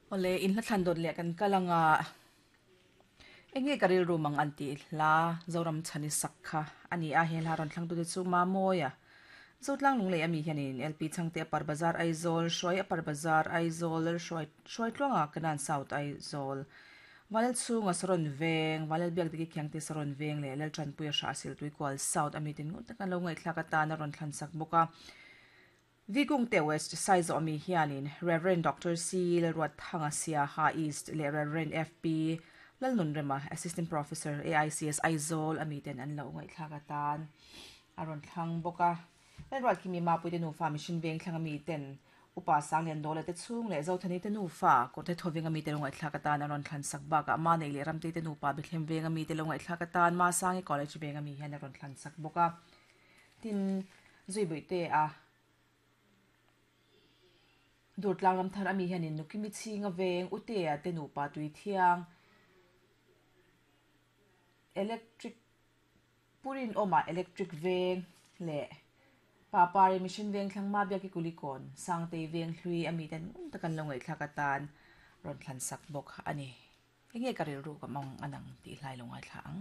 Awle, in hla thlan dawt leh kan kal anga enge ka rilru mang an tih hla Zoram chhani sak kha a ni a, he hla rawn thlangtute chu Mamawia, Zotlang Lunglei ami hianin LP Chhangte Upper Bazar Aizawl, Hruai Upper Bazar Aizawl, Lalhruai Hruaitluanga Kanan South Aizawl, Valel chhunga Saron Veng, Valel Biakdiki Khiangte Saron Veng leh Laltanpuia Hrahsil Tuikual South ami ten ngut tak an lo ngaihthlak atan a rawn thlan sak bawk a. Vikungte West Saizawh ami hianin Rev. Doctor C. Lalruatthanga Siaha East leh Rev. FP. Lalnunrema, Assistant Professor, AICS Aizawl ami ten an lo ngaihthlak atan a rawn thlang bawk a. Lalruatkimi Mapuite nufa Mission Vengthlang ami ten Upa Sanglian Dawla te chhung leh Zothani te nufa Kawrte Thoveng ami te lo ngaihthlak atan a rawn thlan sak bakah Manei leh Ramtei te nupa Bethlehem Veng ami te lo ngaihthlak atan Masangi College Veng ami hian a rawn thlan sak bawk a. Tin, Zuibuihte a Durtlang ram thar ami hianin Nukimi chhinga veng Utea te nupa tui thiang electric Purin awmah electric veng leh Papari Mission veng thlang Mabiaki Kulikawn Sangtei veng hlui ami ten ngun tak an lo ngaihthlak atan rawn thlan sak bawk a ni. Enge ka rilru ka mawng anang tih hlai lo ngaithla ang.